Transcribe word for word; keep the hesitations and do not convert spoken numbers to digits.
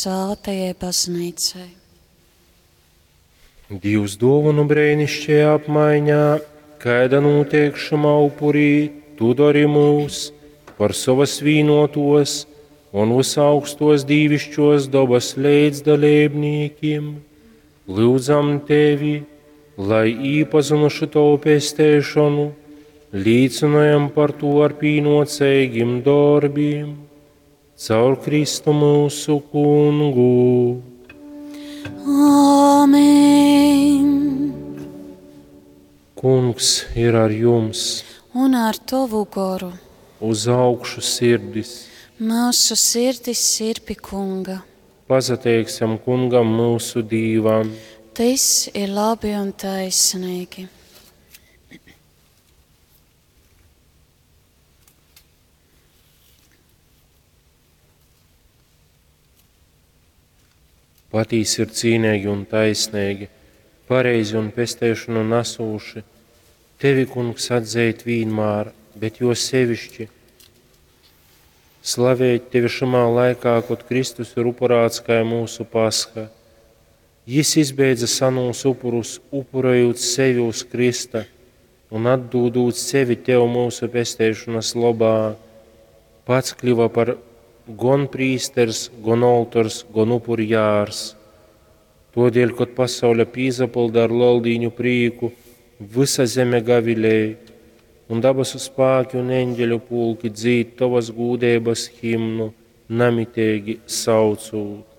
svētajai baznīcai. Dīvs duovonu breinišķajā apmaiņā, kaida nūteik šymā upurī, tu dori mūs par sovas vīnotos un visaugstos dīvišķos dobas līdzdalībnīkim. Lūdzam tevi, lai īpazinuši tavu pesteišonu, līcinojam par to ar pīnocīgiem darbiem, caur Kristu mūsu kungu. Āmen! Kungs ir ar jums, Un ar tavu goru uz augšu sirdis. mūsu sirdis ir pie kunga. Pasateiksim kungam mūsu dīvam. Tas ir labi un taisnīgi. Patīs ir cīnīgi un taisnīgi, pareizi un pesteišanu nesūši. Tevi, kungs, atzīt vienmēr, bet jo sevišķi slavēt tevi šimā laikā, kad Kristus ir upurāts kā mūsu pasha. Jis izbeidza sanūs upurus, upurējot sevi uz Krista un atdūdot sevi tev mūsu pesteišanas lobā. Pats kļuva par gon prīsters, gon oltors, gon upurjārs. Todēļ, kad pasaule pīzapilda ar leldīņu prīku, visa zeme gavilēja, un dabasu spēki un eņģeļu pulki dzīd tavas gūdības himnu, namitīgi saucūt.